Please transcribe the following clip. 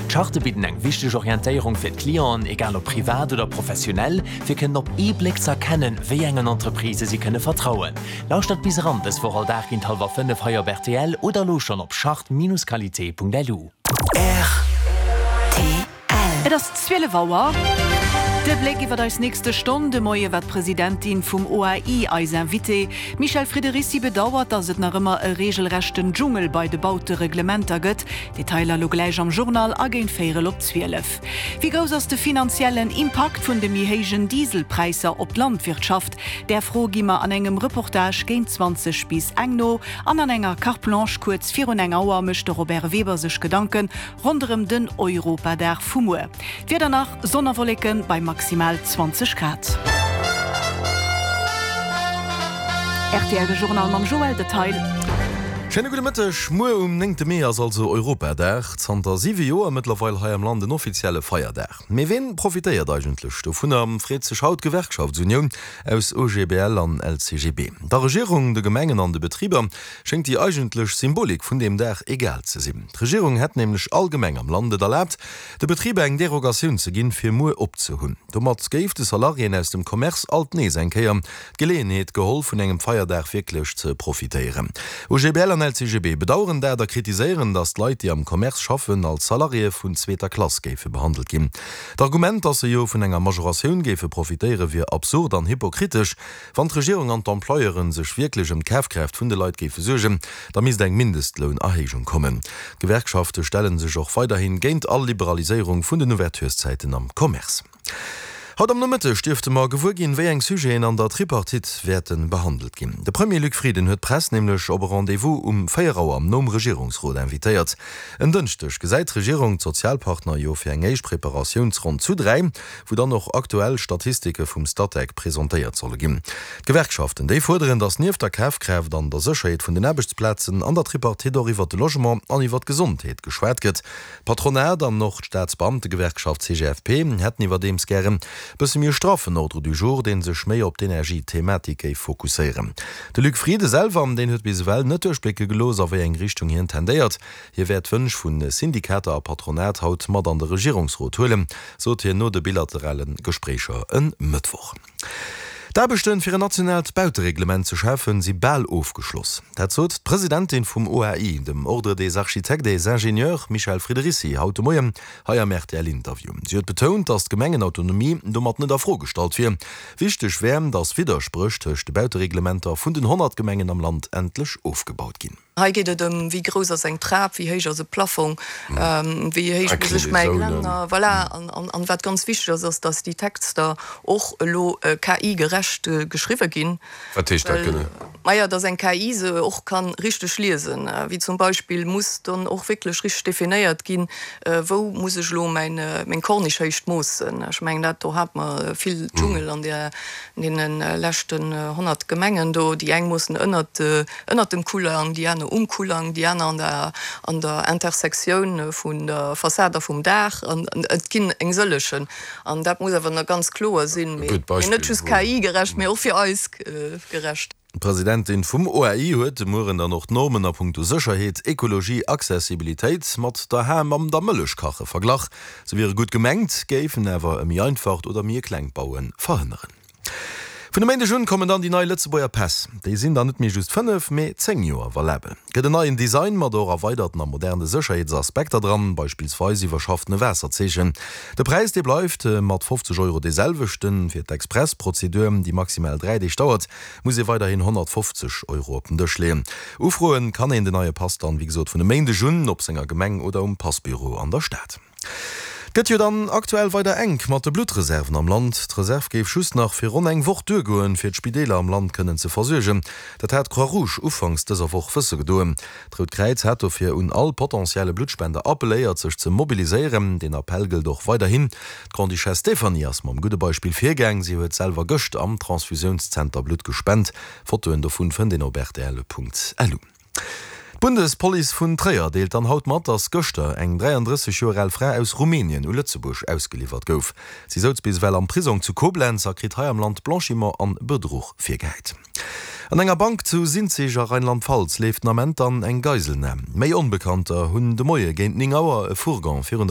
D'Charte bidden eng wichteg Orientéierung fir d'Clienten, egal ob privat oder professionell, fir kënnen op ee Bléck ze erkennen, wéi engen Entreprisë si kënne vertrauen. Lauschtert bis eran dës Woch all Dag géint hallwer 5 hei op rtl oder elo schonn op charte-qualité.lu. Rtl. Et ass 12 Auer. De Bléck iwwer eis nächste Stonn. De Moie war d'Presidentin vum OAI eis Invitée. D'Michèle Friederici bedauert, datt et nach ëmmer e reegelrechten Dschungel bei de Bautereglementer gëtt. Detailer elo gläich am Journal a géint véierel op 12. Wéi grouss ass de finanziellen Impakt vun de méi héijen Dieselpräisser op d'Landwirtschaft? Där Fro gi mer an engem Reportage géint 20 bis eng no. An an enger Carte Blanche kuerz virun eng Auer mécht de Robert Weber sech Gedanken ronderëm den Europadag vu muer. D'Wieder nach, Sonn a Wolleke bei maximal 20 Grad. Rtl de Journal mam Joël Detail. Schéine gudde Mëtteg. Muer um néngte Mee ass also Europadag. Zanter siwe Joer mëttlerweil hei am Land en offizielle Feierdag. Mee ween profitéiert eigentlech dovunner, freet sech haut d'Gewerkschaftsunioun aus OGBL an LCGB. Der Regierung, de Gemengen an de Betriber schéngt déi eigentlech Symbolik vun deem Dag egal ze sinn. D'Regierung hätt nämlech all Gemeng am Land et erlaabt, de Betriber eng Derogatioun ze ginn, fir muer op ze hunn. Domat géif de Salariéen aus dem Commerce alt nees eng Kéier d'Geleeënheet geholl, vun engem Feierdag wierklech ze profitéieren. OGBL an LCGB bedaueren dat a kritiséieren, datt d'Leit, déi am Commerce schaffen, als Salariéë vun zweeter Klass géife behandelt ginn. D'Argument, datt se jo vun enger Majoratioun géife profitéieren, wier absurd an hypokritesch. Wann d'Regierung an d'Employeuren sech wierklech ëm d'Kafkraaft vun de Leit géife suergen, da misst eng Mindestlounerhéijung kommen. D'Gewerkschafte stelle sech och weiderhi géint all Liberaliséierung vun den Ouvertureszäiten am Commerce. Haut am Nomëtteg dierfte mer gewuer ginn, wéi eng Sujeten an der Tripartite wäerte behandelt ginn. De Premier Luc Frieden huet d'Press nämlech op e Rendez-vous um 4 Auer nom Regierungsrot invitéiert. En Dënschdeg gesäit d'Regierung d'Sozialpartner jo fir eng éischt Preparatiounsronn zu 3, wou dann och aktuell Statistike vum Statec presentéiert solle ginn. D'Gewerkschaften, déi fuerderen, datt nieft der Kafkraaft an der Sécherheet vun den Aarbechtsplazen an der Tripartite och iwwert de Logement an iwwert d'Gesondheet geschwat gëtt. D'Patronat an och d'Staatsbeamtegewerkschaft CGFP hätten iwwerdeems gären bësse méi e straffen Ordre du jour, dee sech méi op d'Energiethematik géif fokusséieren. De Luc Frieden selwer, deen huet bis ewell net duerchblécke gelooss, a wéi eng Richtung hien tendéiert. Hie wäert d'Wënsch vu Syndikater a Patronat haut mat an de Regierungsrot huelen, sot hien no de bilaterale Gespréicher e Mëttwoch. D'Aarbechte fir en nationaalt Bautereglement ze schafen, si bal ofgeschloss. Dat sot d'Presidentin vum OAI, dem Ordre des Architectes et Ingénieurs, Michèle Friederici, haut de Moien hei am RTL-Interview. Si huet betount, datt d'Gemengenautonomie domat net a Fro gestallt wier. Wichteg wär, datt Widderspréch tëscht de Bautereglementer vun den 100 Gemengen am Land endlech ofgebaut ginn. Hei geet et ëm, wéi grouss ass eng Trap, wéi héich ass e Plafong, wéi héich muss ech mäi Geländer, voilà. An wat ganz wichteg ass, ass, dass déi Texter och elo KI-gerecht geschriwwe ginn. Wat heescht dat genee? Maja, dass eng KI se och ka richteg liesen. Wéi zum Beispill muss dann och wierklech richteg definéiert ginn, wou muss ech elo meng Corniche-Héicht moossen. Ech mengen, dat do hate mer vill Dschungel an deene leschten 100 Gemengen do. Déi eng moossen ënnert Ënnert dem Kullang, déi aner um Kullang, déi aner an der an der Intersektioun vun der Fassad a vum Daach. An et ginn eng sëllegen. An dat muss awer ganz kloer sinn, mee net just KI-gerecht, mee och fir eis gerecht. D'Presidentin vum OAI huet de Mueren dann och d'Normen a punkto Sécherheet, Ekologie, Accessibilitéit mat der Ham an der Mëllechkache verglach. Se wiere gutt gemengt, géifen awer e méi einfacht oder méi e klengt Baue verhënneren. Vun e Méindeg un kommen dann déi nei Lëtzebuerger Päss. Déi sinn dann net méi just 5, mee 10 Joer valabel. Gëtt en neien Design mat och erweiderten a moderne Sécherheetsaspekter dran, beispillsweis iwwerschaffene Waasserzeechen. De Präis, dee bleift mat 50 Euro dee selwechten. Fir d'Express-Prozedur, déi maximal 3 Deeg dauert, muss ee weiderhin 150 Euro op den Dësch leeën. Ufroen kann een den neie Pass dann, wéi gesot, vun e Méindeg un op senger Gemeng oder um Passbüro an der Stad. Et gëtt jo dann aktuell weider enk mat de Bluttreserven am Land. D'Reserv géif just nach fir ronn eng Woch duergoen, fir d'Spideeler am Land kënnen ze versuergen. Dat hat d'Croix-Rouge ufanks dëser Woch wësse gedoen. D'Rout Kräiz hat dofir un all potentielle Bluttspender appelléiert, sech ze mobiliséieren. Deen Appell gëllt och weiderhin. D'Grande-Duchesse Stéphanie ass mam gudde Beispill virgaang. Si huet selwer gëscht am Transfusiounszenter Blutt gespent. Fotoen dovun fënnt een op rtl.lu. D'Bundespolice vun Tréier deelt dann haut mat, datt gëschter eng 33 Joer al Fra aus Rumänien u Lëtzebuerg ausgeliwwert gouf. Si souz bis ewell am Prisong zu Koblenz a kritt hei am Land Blanchiment an Bedruch virgehäit. An enger Bank zu Sinzig a Rheinland-Pfalz leeft den Ament dann eng Geiselnam. Méi Onbekannter hunn de Moie géint 9 Auer e Fourgon virun der.